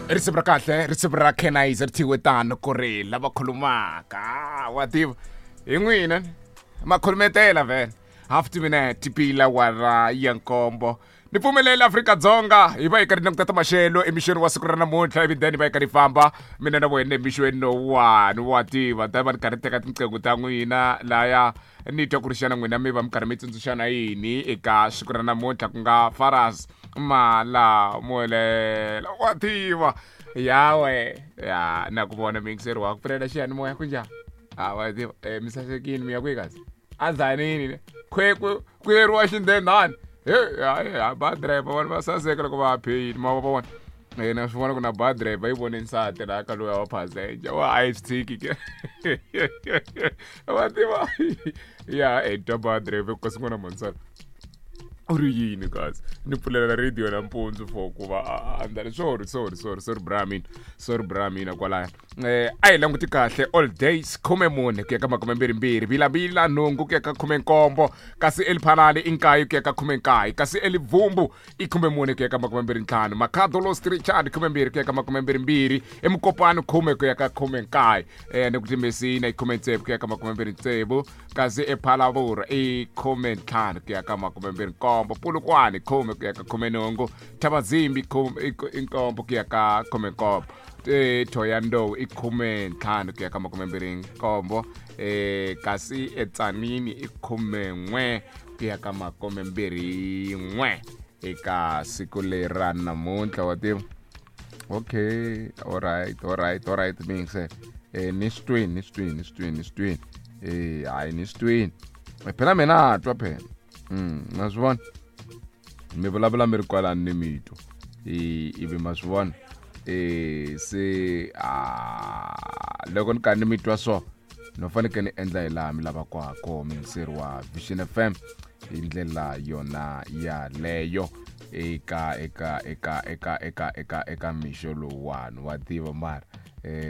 Risimu ra kahle, risimu ra Kenize ri thyiwe tano ku ri lava khulumaka, wa tiva hi n'wina makhulumetela vhele. Half to minute pila wara ya nkombo. Ni pfumelele Afrika-Dzonga hi va hi karhi languta ta maxelo emixweni wa siku ra namuntlha, ivi then hi va hi karhi famba mina na wena emixweni lowuwani, wa tiva ta va ni karhi teka tinqingho ta n'wina laya ni twa ku ri xana n'wina mi va mi karhi mi tsundzuxana yini eka siku ra namuntlha, ku nga Faras Malamulele, wa tiva yawe ya na ku vona muyingiseri wa ku pfulela xiyanimoya ku njhani. A wa tiva mi sasekini mi ya kwihi kasi azanini khweku ku yeriwa xindendhani he hayi ba driver vanhu va saseka loko va pheyini ma va vona. Na swi vona ku na ba driver yi vone nsati laha ka loyi wa passenger wa a yi swi tshiki ke wa tiva ya e twa ba driver kasi n'wana mansala u ri yini kasi ni pfulela radio nampundzu for ku va a ndla sorry sorry sorry sorry bra mina, sorry bra mina kwalaya. A hi languti kahle all days 14 ku ya ka 22, Vilavila 8 ku ya ka 17, kasi Eliphalale i 9 ku ya ka 19, kasi Elivumbu i 14 ku ya ka 25, Makhado Lost Richard 12 ku ya ka 22, Emukopano 10 ku ya ka 19, ni ku Timesina i 16 ku ya ka 26, kasi ePhalavura i 15 ku ya ka 27, Polokwane 10 ku ya ka 18, Thabazimbi i 7 ku ya ka 17, Thohoyandou i 15 ku ya ka 27, kasi eTsanini i 11 ku ya ka 21 eka siku leri ra namuntlha, wa tiva. Okay, all right, all right, all right, miyingisela. Ni swi twini, ni swi twini, ni swi twini, ni swi twini. Hayi ni swi twini. Phela mina twa phela. Na swi vona. Mi vulavula mi ri kwalani ni mi twa. Ivi ma swi vona. Se loko ni karhi ni mi twa so no fanekele ni endla hi laha mi lavaka ha kona muyingiseri wa Vision FM hi ndlela yona yaleyo eka eka eka eka eka eka eka mixo lowuwani, wa tiva mara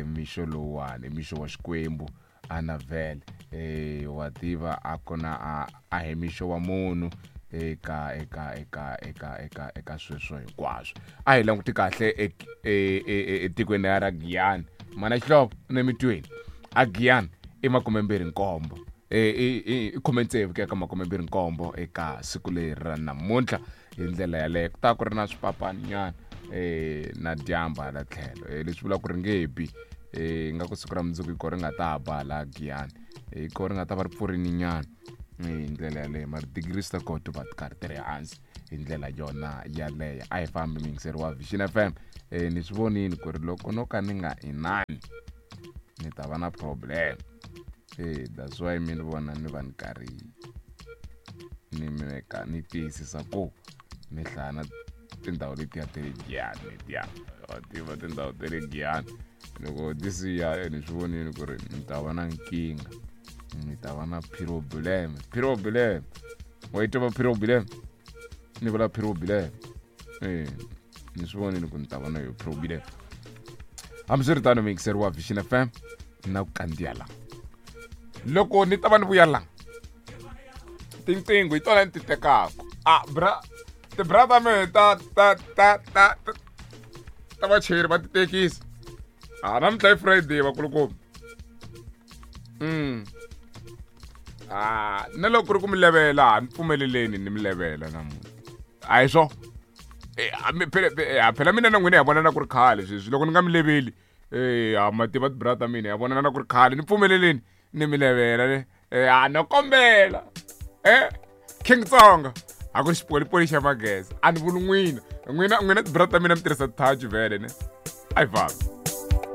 mixo lowuwani mixo wa Xikwembu ana vhele wa tiva a ku na a hi mixo wa munhu eka eka eka eka eka eka sweswo hinkwaswo. A hi languti kahle etikweni ra Giyani, mana Xihlovo ne mitweni a Giyani i 27, i 16 ku ya ka 27 eka siku leri ra namuntlha. Hi ndlela yaleyo ku ta ku ri na swipapani nyana na dyambu hala tlhelo, leswi vulaka ku ri nge bi nga ku siku ra mundzuku hi ko ri nga ta ba hala Giyani, hi ko ri nga ta va ri pfurini nyana hi ndlela yaleyo, mara degrees ta kona ti va ti karhi ti ri hansi hi ndlela yona yaleyo. A hi fambi muyingiseri wa Vision FM, ni swi vonini ku ri loko no ka ni nga inani ni ta va na problem, that's why mi ni vona ni va ni karhi ni meka ni tiyisisa ku ni hlaya na tindhawu letiya ta le Giyani letiya, wa tiva tindhawu ta le Giyani loko ti siya ni swi vonini ku ri ni ta va na nkingha, ni ta va na problem, problem wa yi tiva problem, ni vula problem ni swi vonini ku ni ta va na yo problem. Hambiswiritano muyingiseri wa Vision FM na ku kandziya la loko ni ta va ni vuya la tinqingho hi tona ni ti tekaka a bra tibra ta mehe ta ta ta ta ta vachayeri va titekisi a namuntlha i Friday vakulukumba. Na loko ku ri ku mi levela ni pfumeleleni ni mi levela namuntlha a hi swo phela mina na n'wina hi vonana ku ri khale sweswi loko ni nga mi leveli ha ma tiva tibra ta mina hi vonana ku ri khale ni pfumeleleni ni mi levela ne a no kombela King Tsonga a ku ri xipolipoli xa magezi a ni vuli n'wina n'wina n'wina tibra ta mina mi tirhisa touch vhele ne a hi fambi.